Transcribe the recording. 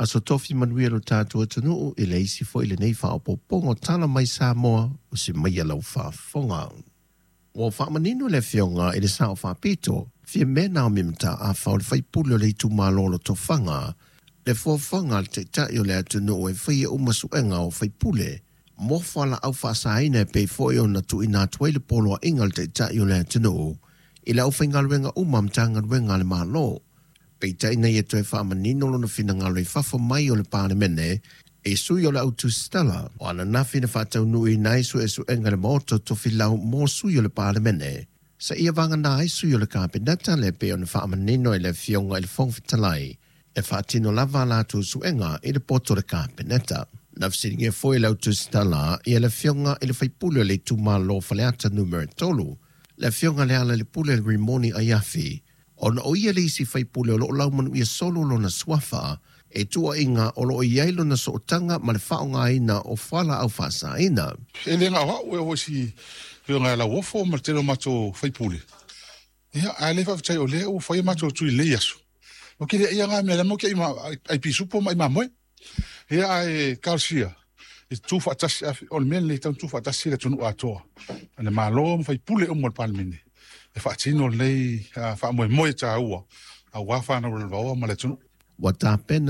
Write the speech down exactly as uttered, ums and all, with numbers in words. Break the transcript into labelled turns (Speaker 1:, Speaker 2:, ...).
Speaker 1: Aso Tofi manuia lo tatou atunuu i le isi foi lenei faaopoopoga o Tala mai Samoa o se mai a lau faafofoga. Ua faamanino le Afioga i le Sao Faapito, Fiame Naomi Mataafa o le faipule o le itumalo o Lotofaga, le fuafuaga a le Taitai o le atunuu e faia uma suega o faipule mo fualaau faasaina e pei foi ona tuuina atu ai le poloaiga a le Taitai o le atunuu i le aufaigaluega uma a Matagaluega a le Malo. Peitai na ia toe faamanino lona finagalo i fafo mai o le Palemene e sui o le au tusitala o ananafi na faataunuuina ai suesuega i le Maota o Tofilau mo sui o le Palemene seia vagana ai sui o le Kapeneta le pei ona faamanino e le Afioga i le Fofoga Fetalai e faatino lava a latou suega i le poto o le Kapeneta. Na fesiligia foi e le au tusitala ia le Afioga i le faipule o le itumalo o Faleata Numera tolu, le Afioga Lealailepule Rimoni Aiafi, ona o ia le isi faipule o lo o laumanuia solo lona suafa e tuuaiga o lo o i ai lona sootaga ma le faaaogaina o fualaau faasaina.
Speaker 2: E le na o au e oo i si afioga ia Lauofo ma le tele o matou faipule. Ia, ae le faafetai o lea ua fai a matou tui i lenei aso. Ou te le aia na mea, lea matou te ai ai pisupo ma ai mamoe. Ia, ae talosia e tutu faatasi, o le mea lenei e tatau ona tutu faatasi le atunuu atoa, le Malo ma faipule uma o le Palemene e faatino lenei faamoemoe taua aua fanau lalovaoa ma le atunuu.
Speaker 1: Ua tapena